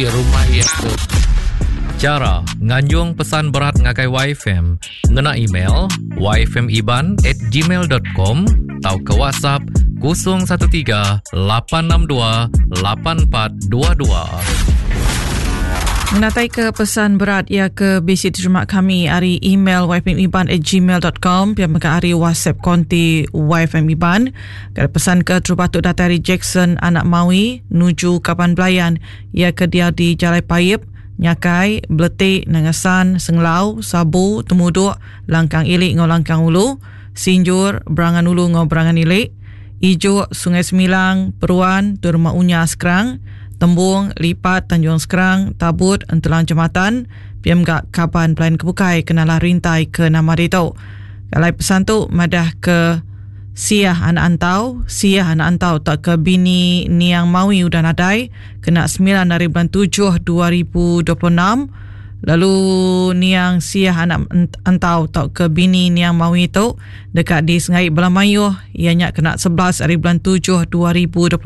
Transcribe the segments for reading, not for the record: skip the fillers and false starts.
Rumah iya tu. Chara nganjung pesan berat ngagai YFM ngena email yfmiban at gmail dot com tauka WhatsApp 013 862 8422. Ngenatai ke pesan berat iya ke bisi diterima kami ari email yfmiban at gmail dot com pia mega ari WhatsApp konti yfmiban. Kada pesan ke terubah tu datai ari Jackson anak Mawi nuju kaban belayan Iya ke diau di Jalai Paip, Nyakai, Beletik, Nanga San, Senglau, Sabu, Temuduk, Langkang Ili enggau Langkang Ulu, Sinjur, Berangan Ulu enggau Berangan Ili, Ijok, Sungai Semilang, Peruan, Tuai Rumah Unya, Skrang, Tembung, Lipat, Tanjung Skrang, Tabut, Entelang Jematan, pia mega kaban belayan ke bukai ke nalah rintai ke nama ditu. Alai pesan tu madah ke Siah anak Antau, Siah anak Antau tauka bini Niang Mawi udah nadai kena semilan ari bulan tujuh 2026 lalu Niang Siah anak Antau tauka bini Niang Mawi tu deka disengai bala mayuh iya nya kena 11 ari bulan tujuh 2026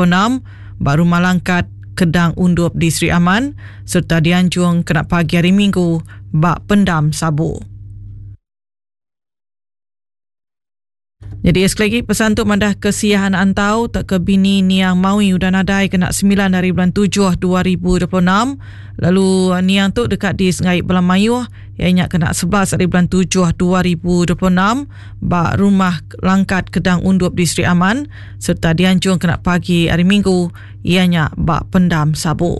ba Rumah Langkat Kedang Undup di Sri Aman sereta dianjung kena pagi hari Minggu ba Pendam Sabu. Jadi sekali lagi pesan tu madah ke Siah anak Antau tak ke bini Niang Mawi udah nadai kena 9 hari bulan 7 2026 lalu eh, Niang tu dekat di Sengai Belam Mayuh iya nya kena 11 hari bulan 7 2026 ba rumah Langkat Kedang Undup di Sri Aman serta dianjung kena pagi hari Minggu iya nya ba Pendam Sabu.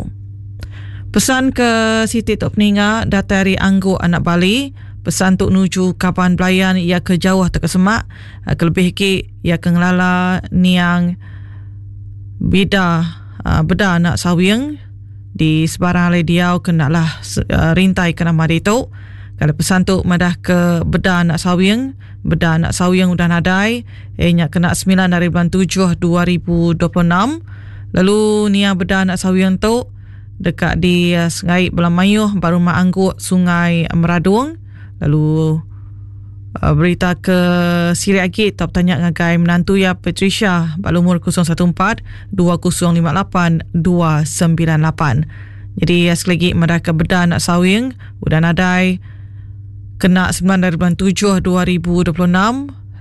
Pesan ke siti tu peninga datai ari Angguk anak Bali. Pesan tu nuju kaban belayan iya ke jauh tauka semak kelebih agi iya ke ngelala niang bida beda anak Sawing di sebarang alai diau ke enda lah rintai ke nama ditu. Kalau pesan tu madah ke beda anak Sawing, beda anak Sawing udah nadai iya nya kena semilan ari bulan tujuh 2026. Lalu niang beda anak Sawing tu deka disengai bala mayuh ba rumah Angguk Sungai Meradong lalu uh, berita ke silik agi tau betanya ngagai menantu iya Patricia ba lumur 014 2058 298. Jadi sekali lagi madah ke beda anak Sawing udah nadai kena 9 dari bulan 7 2026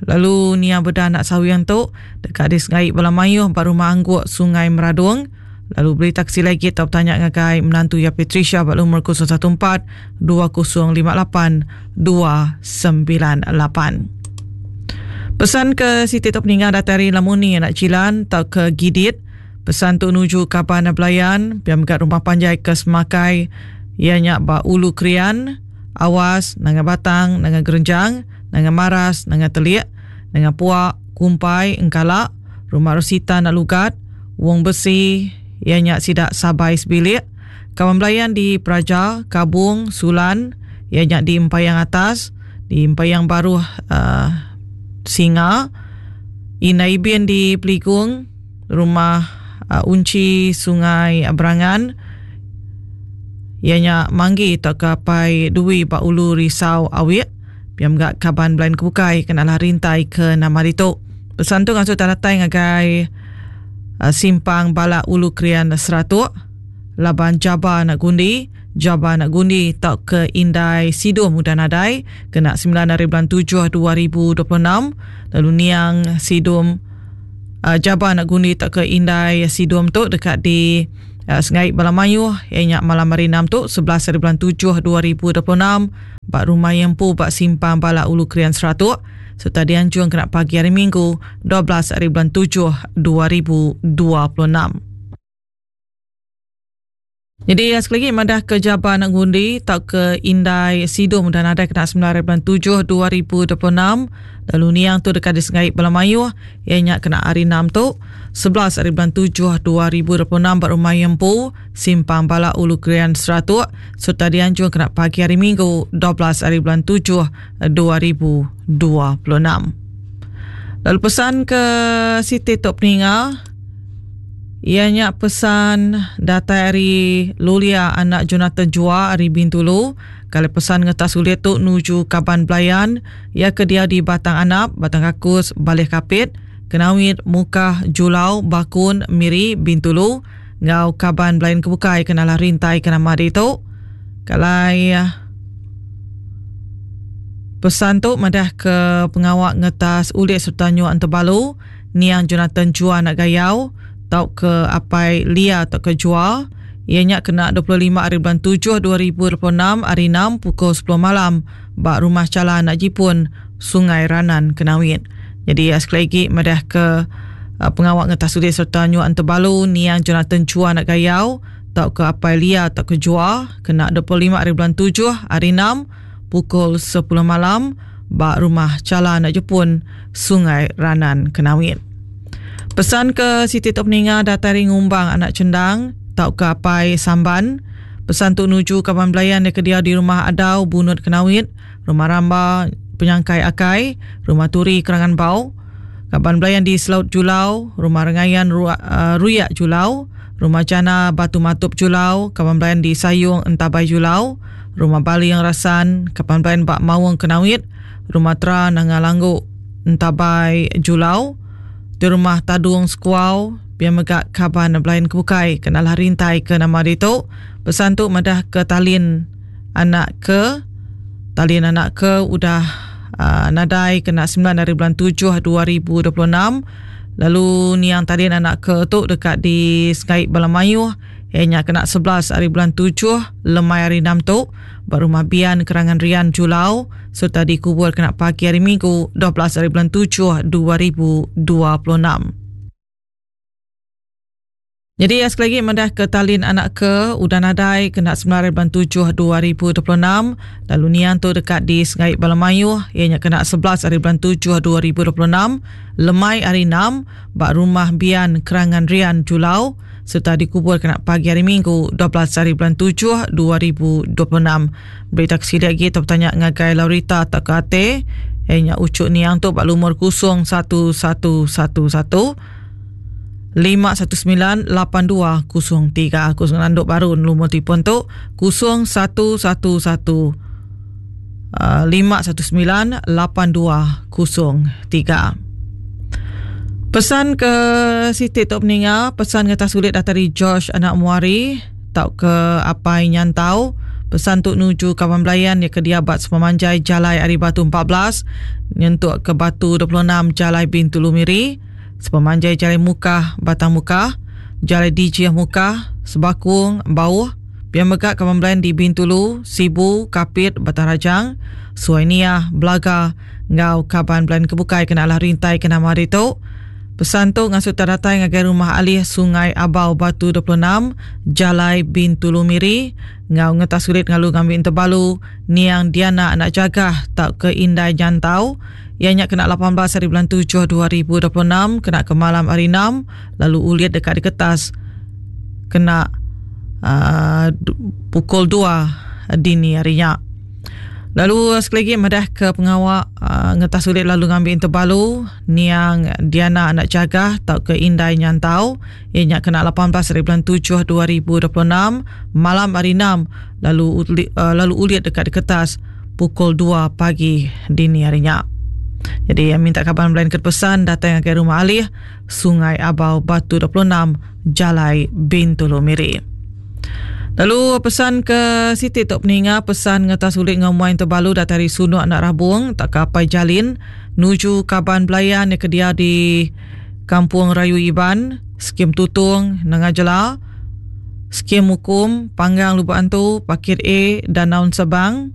lalu nia beda anak Sawing tu deka disengai bala mayuh ba rumah Angguk Sungai Meradong Lalu berita ke silai agi tau betanya ngagai menantu iya Patricia ba lumur 014 2058 298. Pesan ke siti tu peninga datai ari Lamuni anak Jilan tauka Gidit. Pesan tu nuju kaban belayan pia mega rumah panjai ke Semakai iya nya ba Ulu Krian, Awas, Nanga Batang, Nanga Gerenjang, Nanga Maras, Nanga Telik, Nanga Puak, Kumpai, Engkala, Rumah Rosita anak Lugat, Wong Besi, iya nya sida Sabai sebilik, kaban belayan di Praja, Kabung, Sulan, iya nya di Empayang Atas, di Empayang Baruh uh, Singa, Indai Ibin di Peligung, Rumah uh, Unchi Sungai Berangan, iya nya Manggi tauka Apai Dwi ba Ulu Risau Awik, pia mega kaban belayan ke bukai kena lah rintai ke nama ditu. Pesan tu ngasuh tak datai ngagai uh, simpang balak Ulu Krian Seratuk laban Jaba anak Gundi, Jaba anak Gundi tauka Indai Sidum udah nadai kena 9 hari bulan 7 2026 lalu niang Sidum uh, Jaba anak Gundi tauka Indai Sidum tu deka di uh, sengai bala mayuh iya nya malam hari 6 tu 11 hari bulan 7 2026 ba rumah Yempu ba simpang balak Ulu Krian Seratuk sereta dianjung kena pagi hari Minggu 12 hari bulan 7 2026. Jadi sekali lagi madah ke Jaban Ngundi tauka Indai Sidum dan nadai kena 9 hari bulan 7 2026 lalu niang tu deka disengai bala mayuh iya nya kena hari 6 tu 11 hari bulan 7 2026 ba rumah iya empu Simpang Balak Ulu Krian Seratuk sereta dianjung kena pagi hari Minggu 12 hari bulan 7 2026. Lalu pesan ke siti tu peninga iya nya pesan datai ari Lulia anak Jonathan Jua ari Bintulu. Kali pesan ngetas ulit tu nuju kaban belayan iya ke diau di Batang Anap, Batang Kakus, Baleh Kapit, Kenawit, Mukah, Julau, Bakun, Miri, Bintulu. enggau kaban belayan ke bukai ke nalah rintai ke nama ditu. Kalai pesan tu madah ke pengawa ngetas ulit sereta nyuak entebalu niang Jonathan Jua anak Gayau tauka apai Lia tauka Jua iya nya kena 25 hari bulan 7 2026 hari 6 pukul 10 malam ba Rumah Chala Anak Jipun, Sungai Ranan, Kenawit. Nyadi sekali agi madah ke pengawa ngetas ulit sereta nyuak entebalu niang Jonathan Chua anak Gayau tauka apai Lia tauka Jua kena 25 hari bulan 7 hari 6 pukul 10 malam ba Rumah Chala Anak Jepun, Sungai Ranan, Kenawit. Pesan ke siti tu peninga datai ari Ngumbang Anak Chendang tauka Apai Samban. Pesan tu nuju kaban belayan iya ke diau di Rumah Adau Bunut Kenawit, Rumah Ramba Penyangkai Akai, Rumah Turi Kerangan Bau, kaban belayan di Selaut Julau, Rumah Rengayan Ruyak Julau, Rumah Jana Batu Matup Julau, kaban belayan di Sayung Entabai Julau, Rumah Baling Rasan, kaban belayan ba Maung Kenawit, Rumah Tra Nanga Langgu Entabai Julau, di Rumah Tadung Sekuau, pia mega kaban belayan ke bukai ke nalah rintai ke nama ditu. Pesan tu madah ke talin anak ke talin anak ke udah uh, nadai kena 9 hari bulan 7 2026 lalu niang talin anak ke tu deka disengai bala mayuh iya nya kena 11 hari bulan 7 lemai hari 6 tu ba Rumah Bian Kerangan Rian Julau sereta dikubur kena pagi hari Minggu 12 hari bulan 7 2026. Jadi sekali lagi madah ke talin anak ke udah nadai kena 9 hari bulan 7 2026 lalu niang tu deka di Sengai Bala Mayuh iya nya kena 11 hari bulan 7 2026 lemai hari 6 ba Rumah Bian Kerangan Rian Julau sereta dikubur kena pagi hari Minggu 12 hari bulan 7 2026. Berita ke silik agi tau betanya ngagai Laurita tauka Ate iya nya uchu niang tu ba lumur 01111 519 8203. Aku ngelanduk baru lumur telefon tu 0111 519 8203. Pesan ke siti tu peninga, pesan ngetas ulit datai ari George anak Muari tauka apai Nyantau. Pesan tu nuju kaban belayan iya ke diabat sepemanjai jalai ari Batu 14 nyentuk ke Batu 26 Jalai Bintulu Miri, sepemanjai Jalai Mukah Batang Mukah, Jalai Dijih Mukah, Sebakung, Bauh, Pia mega kaban belayan di Bintulu, Sibu, Kapit, Batang Rajang, Suai Niah, Belaga enggau kaban belayan ke bukai kena alah rintai ke nama ditu. Pesan tu ngasuh tak datai ngagai Rumah Alih Sungai Abau Batu 26, Jalai Bintulu Miri enggau ngetas ulit ngalu ngambi entebalu niang Diana anak Jagah tauka Indai Nyantau iya nya kena 18 hari bulan 7 2026 kena ke malam hari 6 lalu ulit deka diketas kena uh, pukul 2 dini hari nya. Lalu sekali lagi madah ke pengawa uh, ngetas ulit lalu ngambi entebalu niang Diana anak Jagah tauka Indai Nyantau iya nya kena 18 hari bulan 7 2026 malam hari 6 lalu uh, lalu ulit dekat diketas pukul 2 pagi dini hari nya. Jadi minta kaban belain ke pesan datang ngagai rumah alih Sungai Abau Batu 26 Jalai Bintulu Miri. Lalu pesan ke siti tu peninga pesan ngetas ulit enggau muai tebalu datai ari Sunuk anak Rabung tak ke Apai Jalin nuju kaban belayan ke dia di Kampung Rayu Iban, Skim Tutung, Nanga Jela, Skim Mukum, Panggang Lubok Antu, Pakit A dan Naun Sebang.